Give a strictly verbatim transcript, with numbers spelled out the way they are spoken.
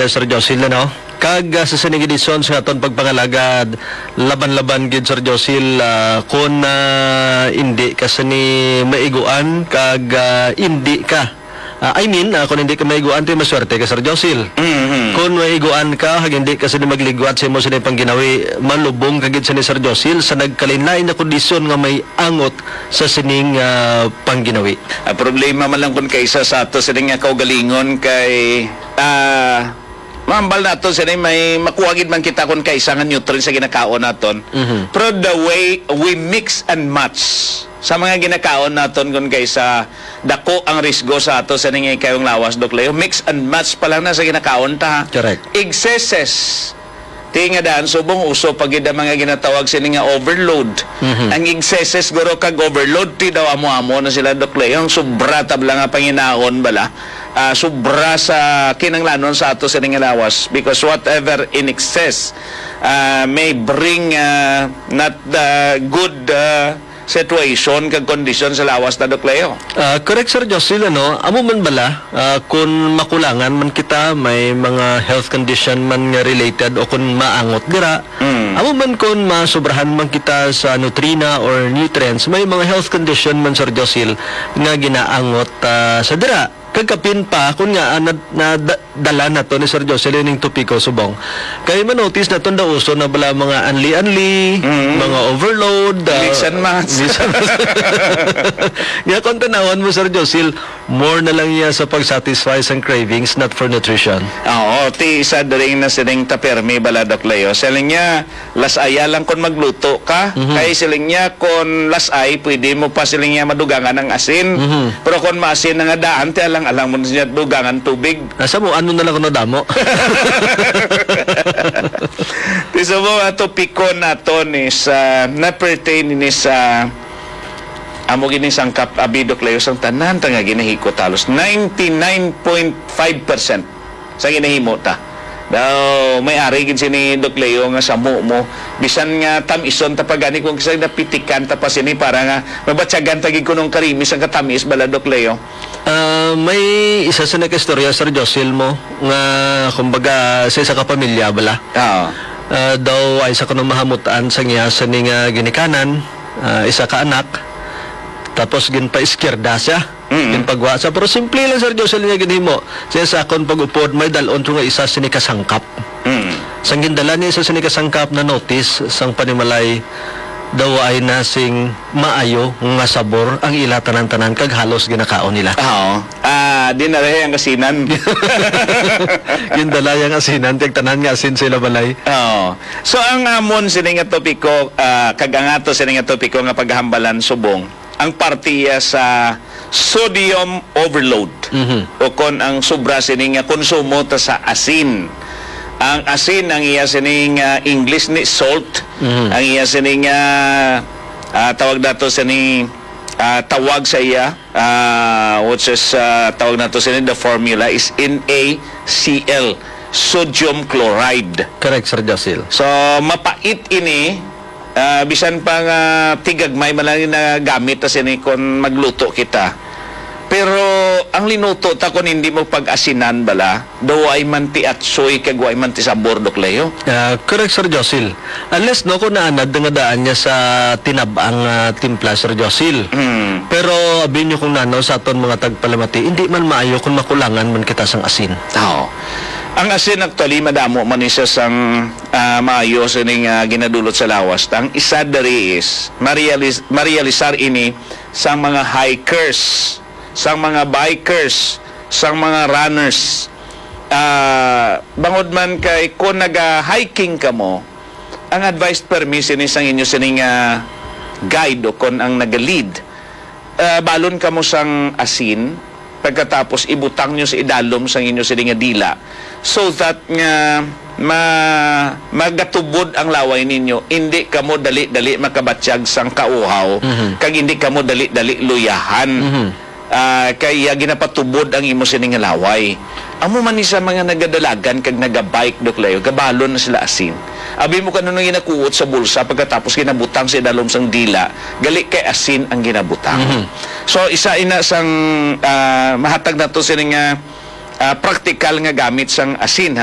Sir Josil, ano? Kag, ah, sa sining edisyon sa aton pagpangalagad, laban-laban gid, Sir Josil, ah, kung, ah, hindi ka sini maiguan, kag, ah, hindi ka, ah, I mean, ah, kung hindi ka maiguan, ti maswerte ka, Sir Josil. Mhm. Kung maiguan ka, kag hindi ka sini magligwat sa imo sini pangginawi, malubong ka gid sini, Sir Josil, sa nagkalain-lain nga kondisyon nga may angot sa sining, ah, pangginawi. Ang problema man lang kung kaisa sa ato sini nga kaugalingon kay, ah, mahambal naton sini may makuha gid man kita kung kaisa nga nutrients sa ginakaon naton. Mhm. Pero the way we mix and match sa mga ginakaon naton kung kaisa dako ang risgo sa ato sa ningay kayong lawas, Doc Leo. Mix and match pa lang na sa ginakaon ta, ha? Correct. Excesses. Ti nga daan, subong uso pa gid ang mga ginatawag sini nga overload. Mhm. Ang excesses guro kag overload, ti daw amo-amo na sila, Doc Leo. Ang sobra tabla nga panginaon bala, ah, sobra sa kinanglanon sa ato sini nga lawas. Because whatever in excess, ah, may bring, ah, not the good, ah, situation kag kondisyon sa lawas na, Doc Leo. Ah, correct, Sir Jocelyn, ano? Amo man bala, ah, kun makulangan man kita, may mga health condition man nga related o kun maangot dira, Mm. amo man kun masobrahan man kita sa nutrina or nutrients, may mga health condition man, Sir Josil, nga ginaangot, ah, sa dira. Kag kapin pa, kun nga, ah, na, na, da-, dala nato ni Sir Jocelyn ning topiko subong. Kay manotice naton daw uso na bala mga anli-anli, Mm. mga overload, ah, Mix and match. mix and match. Nga kung tanawan mo, Sir Josil, more na lang niya sa pag-satisfy sang cravings, not for nutrition. Oo, ti isa diri na sining tapermi bala, Doc Leo. Siling niya, las-aya lang kon magluto ka. Mhm. Kay siling niya, kon las-ay, pwede mo pa siling niya madugangan ang asin. Mhm. Pero kon maasin na nga daan, ti alang-alang mo na siya dugangan tubig. Asa mo, ano na lang kuno damo? Ti sa mga topiko naton is, ah, na-pertain ini sa amo gini sangkap, abi, Doc Leo, sang tanan ta nga ginahikot halos ninety-nine point five percent sa ginahimo ta. Daw, may ari gid sini, Doc Leo, nga samo mo. Bisan nga tam-ison ta pa gani kung kisay napitikan ta pa sini para nga mabatyagan ta gid kunong karimis ang katamis bala, Doc Leo. Ah, may isa sa nagkaistorya, Sir Josil, mo, nga, kumbaga, sa isa ka pamilya bala. Oo. Ah, daw ay sa kuno mahamutan sa niya sa ni nga ginikanan, ah, isa ka anak, tapos ginpa-izquierda siya. Mm. Ginpagwa siya. Pero simple lang, Sir Josil, niya ginhimo. Siya sa akon pag-upod, may dalon to nga isa sini kasangkap. Mm. Sang gindala niya isa sini kasangkap, na-notice sang panimalay, daw ay na sing maayo nga sabor ang ila tanan-tanan kag halos ginakaon nila. Oo. Ah, di na rin ang asinan. Gindala yang asinan, kag tanan nga asin sila balay. Oo. So, ang amon sini nga topiko, ah, kag ang ato sini nga topiko nga paghambalan subong, ang parte iya sa sodium overload. Mhm. O kon ang sobra sini nga konsumo ta sa asin. Ang asin, ang iya sini nga English ni salt, Mhm. ang iya sini nga, ah, tawag nato sini, ah, tawag sa iya, ah, which is, ah, tawag nato sini, the formula is N A C L, sodium chloride. Correct, Sir Josil. So, mapait ini, ah, bisan pa nga tigagmay man lang na gamit ta sini kon magluto kita. Pero ang linuto ta kon hindi mo pag-asinan bala, daw ay man ti atsoy kag way man ti sabor, Doc Leo. Ah, correct, Sir Josil. Unless, no, kung naanad nga daan niya sa tinabang, ah, timpla, Sir Josil. Mm. Pero abi niyo kung nanaw sa aton mga tagpalamati, hindi man maayo kung makulangan man kita sang asin. Oo. Ang asin actually, madamo man ni siya sang, ah, maayo sining, ah, ginadulot sa lawas. Ang isa diri is, marialis-, marialisar ini sa mga hikers, sa mga bikers, sa mga runners. Ah, bangod man kay kung naga-hiking kamo, ang advice permi sini sang inyo sining, ah, guide o kon ang naga-lead, ah, balon kamo sang asin, pagkatapos ibutang nyo sa idalom sang inyo sini nga dila, so that nga ma-, magatubod ang laway ninyo, hindi kamo dali-dali makabatyag sang kauhaw, Mhm. kag hindi kamo dali-dali luyahan. Mhm. Ah, kay, ah, ginapatubod ang imo sini nga laway. Amo man ni sa mga nagadalagan kag nagabike, Doc Leo, gabalon na sila asin. Abi mo kano nang ginakuot sa bulsa pagkatapos ginabutang sa idalom sang dila, gali kay asin ang ginabutang. Mhm. So, isa ina sang, ah, mahatag nato sini nga, ah, praktikal nga gamit sang asin, ha.